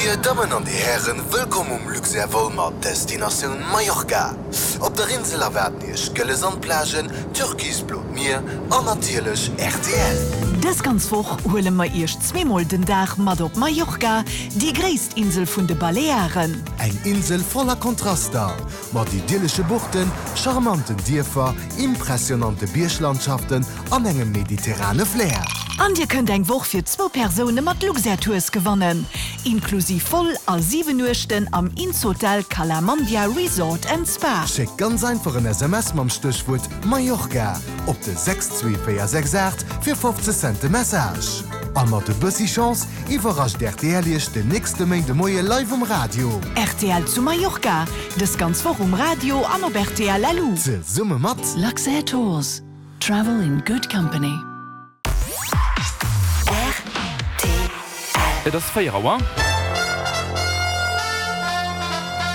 Dir Dammen an Dir Hären, wëllkomm um Luxair Vol mat Destinatioun Mallorca. Op der Insel erwaarden Iech gëlle Sandplagen, türkisblot Mier an natierlech rtl. Dës ganz Woch huele mer Iech zweemol den Dag mat op Mallorca, déi gréisst Insel vun de Balearen. Eng Insel voller Kontraster, mat idyllesche Buchten, charmanten Dierfer, impressionante Bierglandschaften an engem mediterrane Flair. An dir kënnt eng Woch fir zwou Persoune mat Luxair Tours gewannen, inklusiv Vol a 7 Nuechten am Innshotel Cala Mandia Resort and Spa. Schéckt ganz einfach en SMS mam Stéchwuert Mallorca op de 62468 fir 50 Cent de Message. A mat e bëssi Chance iwwerrascht rtl Iech den nächste Méinde Moie live um Radio. Rtl zu Mallorca, dës ganz Woch um Radio an op rtl LU. Zesumme mat. Luxair Tours. Travel in good company. Et ass 4 Auer.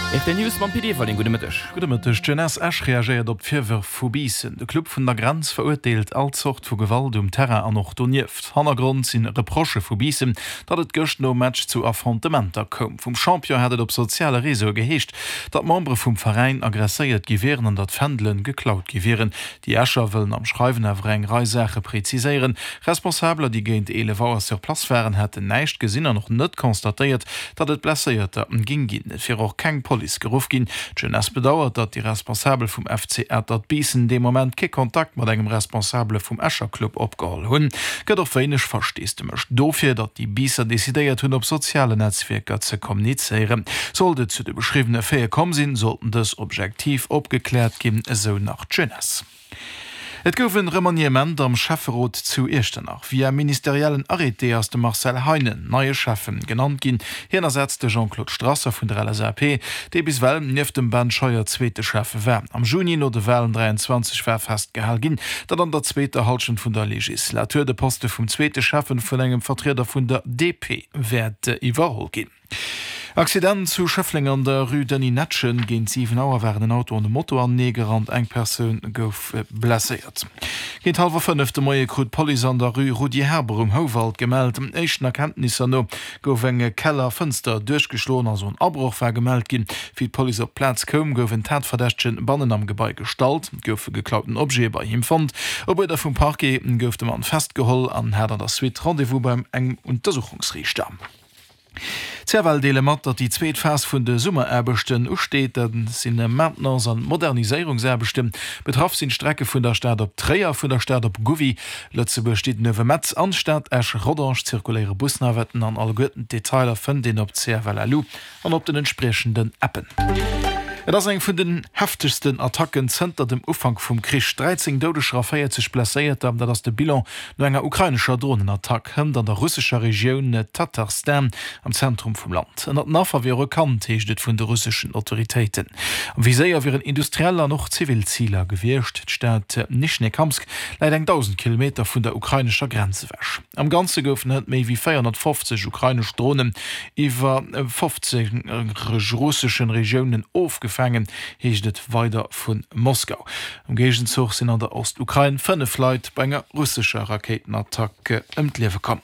Rtl News mam Pit Everling. Gudde Mëtteg. Gudde Mëtteg. D'Jeunesse Esch reagéiert op d'Virwërf vu Biissen. De Club vun der Grenz verurteelt all Zort vu Gewalt um Terrain an och donieft. Hannergrond sinn Reprochë vu Biissen, datt et gëscht nom Match zu Affrontementer koum. Vum Champion hat et op soziale Reseaue geheescht, datt Membere vum Veräin aggresséiert gi wieren an datt Fändele geklaut gi wieren. Déi Escher wëllen am Schreiwen awer eng Rei Saache preziséieren. Responsabeler, déi géint 11 Auer sur place waren, hätten näischt gesinn an och net constatéiert, datt et Blesséierter géing ginn. Et wier och keng Police geruff ginn. D'Jeunesse bedauert, datt déi Responsabel vum FC Atert Biissen dee Moment kee Kontakt mat engem Responsabele vum Escher Club opgeholl hunn. Gëtt och wéineg Versteesdemech dofir, datt déi Biisser decidéiert hunn, op sozialen Netzwierker ze kommunizéieren. Sollt et zu de beschriwwene Faite komm sinn, sollten dës objektiv opgekläert ginn, esou nach d'Jeunesse. Et gouf en Remaniement am Schäfferot zu Iechternach. Via ministeriellen Arrêté ass de Marcel Heinen neie Schäffen genannt ginn. Hien ersetzt de Jean-Claude Strasser vun der LSAP, dee bis ewell nieft dem Ben Scheuer zweete Schäffe war. Am Juni no de Walen 23 war festgehal ginn, datt an der zweeter Hallschent vun der Legislatur de Poste vum zweete Schäffen vun engem Vertrieder vun der DP wäert iwwerholl ginn. Accident zu Schëffleng an der Rue Denis Netschen. Géint 7 Auer waren en Auto an e Moto anenee gerannt. Eng Persoun gouf blesséiert. Géint hallwer 5 de Moie krut d'Police an der Rue Rudi Herber um Houwald gemellt. Éischten Erkenntnisser no gouf eng Kellerfënster duerchgeschloen, also en Abroch war gemellt ginn. Wéi d'Police op d'Plaz koum, gouf en Tatverdächtegen bannen am Gebai gestallt. Et goufe geklauten Objete bei him fonnt. Op Uerder vum Parquet gouf de Mann festgeholl an hat an der Suite Rendez-vous beim engem Untersuchungsriichter. D'CFL deele mat, datt déi zweet Phas vun de Summeraarbechten usteet. Dat si Maintenance an Moderniséierungsaarbechten. Betraff sinn d'Strecke vun der Stad op Tréier, vun der Stad op Gouvy, Lëtzebuerg-Diddenuewe-Metz an Stad-Esch-Rodange. Zirkuléiere Busnavetten an alleguerten d'Detailer fënnt een op cfl.lu. An op den entspriechenden Appen. Et ass eng vun den heftegsten Attacken zënter dem Ufank vum Krich. 13 Doudeger a 40 Blesséierter, dat ass de Bilan no enger ukrainescher Dronenattack hënt an der russescher Regioun Tatarstan am Zentrum vum Land. Ënnert den Affer wier och e Kand, heescht et vun de russeschen Autoritéiten. Am Viséier wieren industriell an och zivil Ziler gewiescht. D'Stad Nischnekamsk läit eng 1.000 Kilometer vun der ukrainescher Grenz ewech. Am Ganze goufen hënt méi wéi 450 ukrainesch Dronen iwwer 15 russeschen Regiounen ofgefaangen, heescht et weider vu Moskau. Am Géigenzuch sinn an der Ostukrain 5 Leit bei enger russescher Rakéitenattack ëm d'Liewe komm.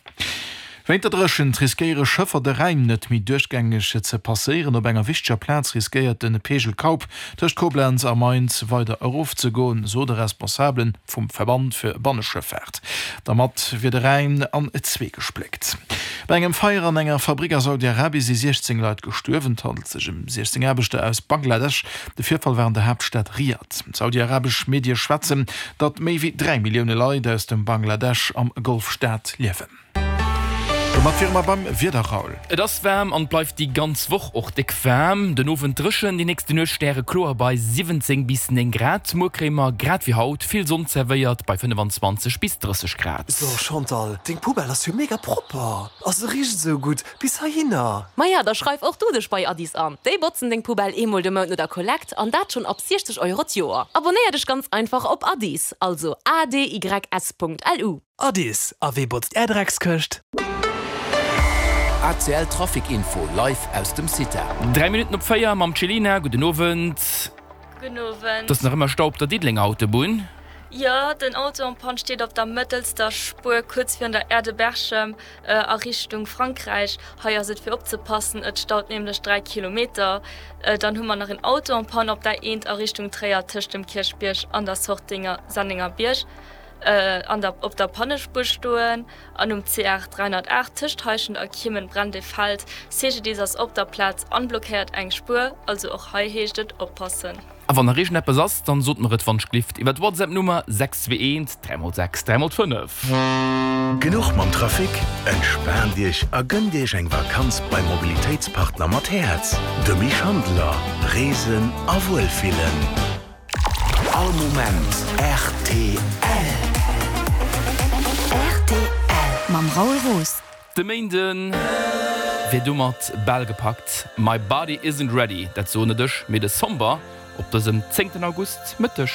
Wéint der Dréchent riskéiere Schëffer de Rhäin net méi duerchgängeg ze passéieren. Op enger wichteger Plaz riskéiert de Peegel Kaup tëscht Koblenz a Mainz weider erofzegoen, sot e Responsabelen. Vum Verband fir Banneschëffaart. Dermat wier de Rhäin an zwee gespléckt. Bei engem Feier an enger Fabrick a Saudi-Arabie si 16 Leit gestuerwen. Et handelt sech ëm 16 Aarbechter aus Bangladesch. De Virfall war an der Haaptstad Riad. Saudi-arabesch Medie schwätzen, datt méi wéi 3 Millioune Leit aus dem Bangladesch am Golfstaat liewen. Domat wiere mer beim Wieder, Raoul. Et ass waarm an bleift déi ganz Woch och déck waarm. Den Owend dréchen, déi nächste Nuecht stärekloer bei 17 bis 9 Grad. Muer kréie mer grad wéi haut vill Sonn zerwéiert bei 25 bis 30 Grad. So Chantal, deng Poubelle ass jo mega propper a se richt esou gutt bis heihinner. Maja, da schreif och du dech bei Addis an. Déi botzen deng Poubelle eemol de Mount no der Kollekt an dat schonn ab 60 Euro d'Joer. Abonéier dech ganz einfach op Addis, also adys.lu. Addis, a wee botzt är Dreckskëscht? ACL Trafic Info live aus dem CITA. 3 Minutten op 4 mam Cellina. Gudden Owend. Gudden Owend. Et ass nach ëmmer Stau op der Diddelenger Autobunn. Jo, den Auto en panne steet op der mëttelster Spuer kuerz virun der Aire de Berchem a Richtung Frankräich. Hei ass et fir opzepassen, et staut nämlech 3 Kilometer. Dann hu mer nach en Auto en panne op der Eent a Richtung Tréier tëscht dem Kierchbierg an der Sorte Sennengerbierg an der op der Pannespuer stoen. An um CR 308 tëscht Heischent a Kiemen brennt e Feld. CGDIS ass op der Plaz an blockéiert eng Spuer. Also och hei heescht et oppassen. A wann nach iergendeppes ass, dann sot mer et wannschglift iwwer d'WhatsApp Nummer 621 3x6 3x5. Genuch mam Trafic? Entspaant Iech a gënnt Iech eng Vakanz beim Mobilitéitspartner mat Häerz, dem Misch Handeler. Reesen a Wuelfillen. All Moment rtl. Rtl mam Raoul Roos. De Méinden wier domat bal gepackt. My body isn't ready, dat soen net ech, mee de Somber op dësem zéngten August Mëtteg.